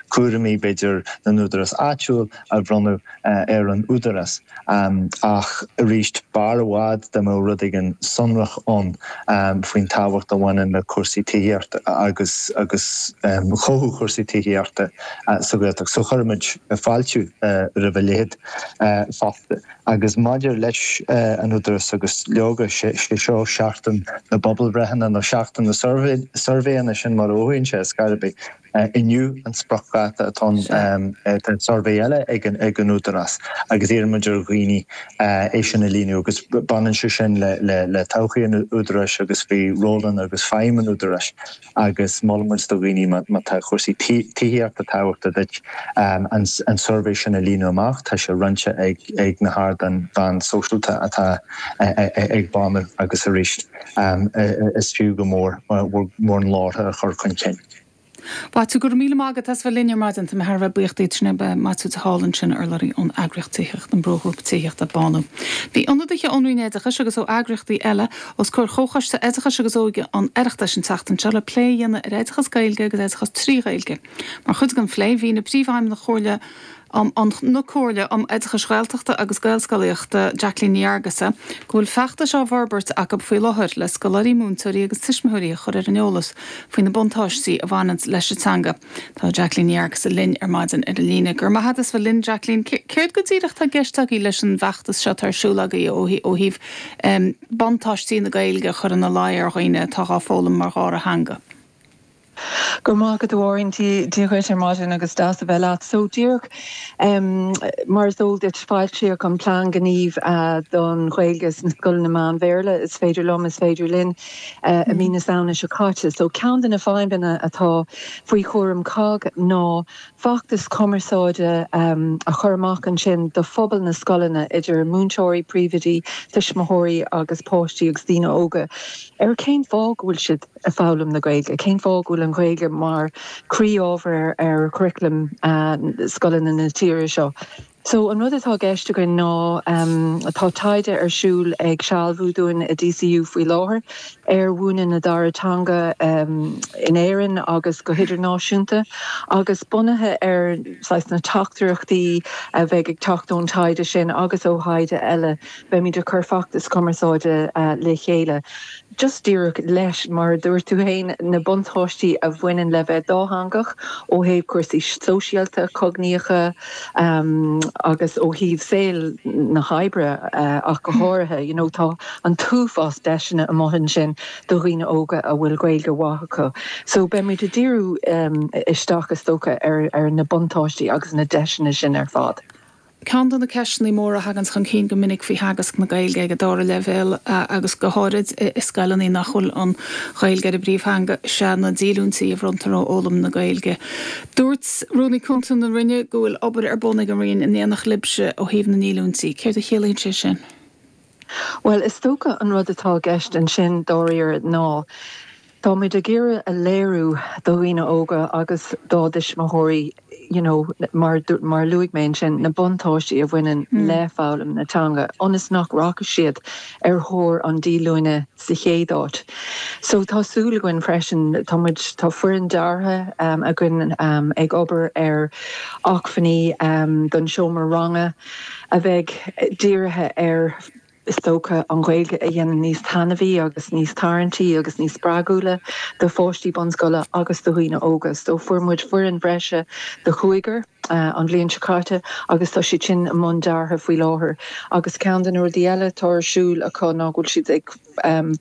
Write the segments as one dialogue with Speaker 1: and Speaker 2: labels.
Speaker 1: Cúraimí, b'fhéidir, na n-údarás áitiúil a bhronnadh ar an Údarás. Ach arís, b'fhearr i bhfad dá mbeadh rud éigin sonrach ann faoin tábhacht a bhaineann le cúrsaí tithíochta agus agus chothú chúrsaí tithíochta sa Ghaeltacht. So chuirfimid fáilte roimh a leithéid fosta. Agus maidir leis an Údarás agus leoga, sé seo seachtain na bpobalbhreitheanna nó seachtain na suirbhéanna, sin mar a mhothaíonn sé ar scor ar bith. Inniu an spriocdháta atá ann. Tá suirbhé eile ag an Údarás agus iarraimid ar dhaoine é sin a líonadh agus baineann sé sin le todhchaí an Údaráis agus faoi rólanna agus feidhm an Údaráis agus molaimid do dhaoine má tá cúrsaí tithíochta tábhachtach duit an suirbhé sin a líonadh amach. Tá sé roinnte ag na hardáin mheán sóisialta atá ag Bánú agus arís is fiú go mór bhur nglórtha a chur chun cinn.
Speaker 2: Maitiú, go raibh míle maith agat as bheith linn ar maidin. Tá mé thar a bheith buíoch díot. Sin é Maitiú de Hál ansin, urlabhraí ón eagraíocht tithíochta, an Brúghrúpa Tithíochta, Bánú. Bhí ionadaithe ón Roinn Oideachais agus ó eagraíochtaí eile os comhair Chomhchoiste Oideachais agus Óige an Oireachtais an tseachtain seo le plé a dhéanamh ar oideachas Gaeilge agus oideachas trí Ghaeilge. Mar chuid den phlé, mhínigh Príomhfheidhmeannach Chomhairle um na Comhairle um Oideachais Ghaeltachta agus Gaelscolaíochta, Jacqueline Ní Fhearghusa, go bhfuil feachtais á bhforbairt acu faoi láthair le scoláirí, múinteoirí agus tuismitheoirí a chur ar an eolas faoi na buntáistí a bhaineanns leis an teanga. Tá Jacqueline Ní Fhearghusa linn ar maidin ar an líne. Go raibh maith agat as bheith linn, Jacqueline. Céard go díreach atá i gceist agaibh leis an bhfeachtas seo atá ar siúl agaibh ó thaobh buntáistí na Gaeilge a chur ina luí ar dhaoine atá dhá foghlaim mar dhara theanga?
Speaker 3: Go raibh maith agat a Mháirín, Dia dhuit ar maidin agus deas a bheith leat. So díreach mar is eol duit foilsíodh an plean gnímh don Ghaeilge sna scoileanna meán-Bhéarla, Is féidir liom, is féidir linn, i mí na Samhna seo caite. So ceann de na feidhmeanna atá faoi chúram COGG ná feachtas cumarsáide a chur amach ansin do phobal na scoileanna, idir múinteoirí, príomhoidí, tuismitheoirí agus páistí agus daoine óga, ar cén fáth go bhfuil siad ag foghlaim na Gaeilge? Cén fáth go bhfuil an Ghaeilge mar chroí-ábhar ar churaclam scoileanna na tíre seo? So, an rud atá i gceist againn ná, tá taighde ar siúl ag sealbhú dúinn i DCU faoi láthair ar mhúineadh na dara teanga in Éirinn agus go hidirnáisiúnta agus bunaithe ar saghas na teachtaireachtaí a bheidh ag teacht ón taighde sin agus ó thaighde eile, beimid ag cur feachtas cumarsáide le chéile. Just díreach leis, mar a dúirt tú féin, na buntáistí a bhaineann le bheith dátheangach ó thaobh cúrsaí sóisialta, cognaíocha agus ó thaobh saol na hoibre ach go háirithe. You know, tá an t-uafás deiseanna amuigh ansin do dhaoine óga a bhfuil Gaeilge mhaith acu. So beimid ag díriú isteach, is dócha, ar na buntáistí agus na deiseanna sin ar fad.
Speaker 2: Ceann de na ceisteanna móra a thaganns chun cinn go minic faoi theagasc na Gaeilge ag an dara leibhéal agus go háirid i scoileanna nach bhfuil an Ghaeilge ar a bpríomhtheanga is ea na díolúintí a bhronntar ó fhoghlaim na Gaeilge. Dúirt Rúnaí Cúnta na Roinne go bhfuil obair ar bun ag an Roinn in éineacht libhse ó thaobh na ndíolúintí. Céard a chiallaíonn sé sin?
Speaker 3: Bhuel, is dócha an rud atá i gceist ansin dáiríre ná Táimid ag iarraidh a léiriú do dhaoine óga agus dá dtuismitheoirí you know mar mar a luaigh mé ansin, na buntáistí a bhaineann le foghlaim na teanga ionas nach rachaidh siad ar thóir an díolúine sa chéad áit. So tá súil againn freisin, tá muid, tá foireann deartha againn ag obair ar acmhainní don seomra ranga a bheidh dírithe ar is dócha, an Ghaeilge a dhéanamh níos taitneamhaí agus níos tarraingtí agus níos spreagúla do pháistí bunscoile agus do dhaoine óga. So fuair muid foireann bhreise de chúigear an bhliain seo caite agus tá siad sin i mbun deartha faoi láthair. Agus ceann de na rudaí eile atá ar siúl acu ná go bhfuil siad ag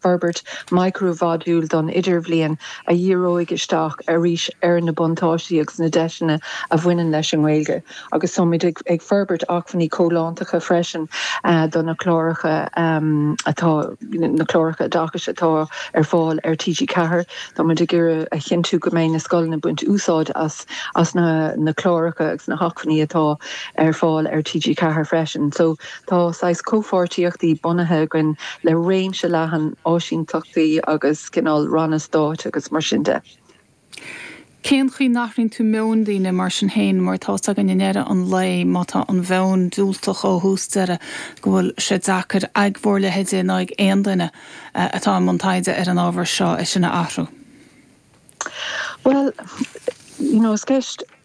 Speaker 3: forbairt micro-mhodúl don idirbhliain a dhíreoidh isteach arís ar na buntáistí agus na deiseanna a bhaineann leis an nGaeilge. Agus táimid ag forbairt acmhainní comhlántacha freisin do na cláracha atá, na cláracha oideachais atá ar fáil ar TG4. Táimid ag iarraidh a chinntiú go mbeidh na scoileanna ag baint úsáid as as na na cláracha agus na hacmhainní atá ar fáil ar TG4 freisin. So tá saghas comhpháirtíochtaí bunaithe againn le réimse leathan áisíntachtaí agus cineál ranna stáit agus mar sin de.
Speaker 2: Cén chaoi n-athraíonn tú meoin daoine mar sin féin, mar tá 's againn i ndeireadh an lae má tá an mheon diúltach ó thús deireadh go bhfuil sé deacair ag bhur leithéide ná ag aon duine atá i mbun taighde ar an ábhar seo é sin a athrú?
Speaker 3: Bhuel, You know, is ceist.